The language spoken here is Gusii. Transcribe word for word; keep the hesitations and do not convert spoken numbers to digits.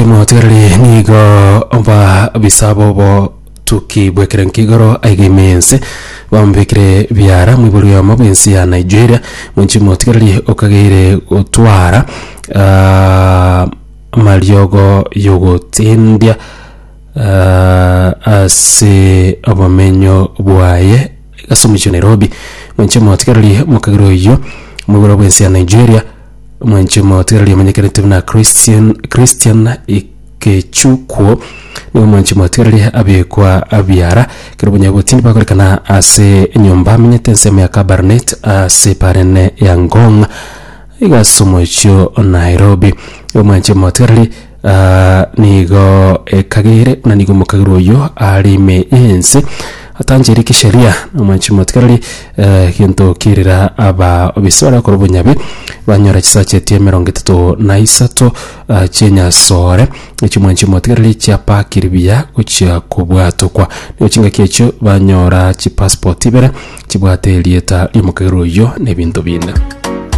Mwanche motigareri nigo ba bisabo botuki bw'ekerengo igoro aiga ime ense bamubekire biara mwibori oyomo bw'ensi ya Nigeria. Mwanche motigareri okageire gotwara ah, amariogo yogotindia ah, ase obomenyo bwaye ase omochie wa Nairobi. Mwanche motigareri omokagere oyio mwibori bw'ensi ya Nigeria, mwanche motigareri omanyekanete buna Christian Christian Ikechukwu, nigo mwanche motigareri abekwa abiara kero obonyabotindi bakorekana ase enyomba amenyete ensemo ya Kabarnet ase parene ya Ngong iga ase omochie o Nairobi. Omwanche motigareri ah, nigo ekagere buna nigo omokagere oyo are ime y'ense atancheire kisheria. Omwanche motigareri eh, gento kirira aba obisi baria bakora obonyabi banyora chisacha emerongo etato na isato ah, chi'enyasore echio mwanche motigareri chiapakiri buya gochia kobwatokwa. Nigo chingaki echio banyora chipassport ibere chibwate erieta ri'omokagere oyio na ebinto binde.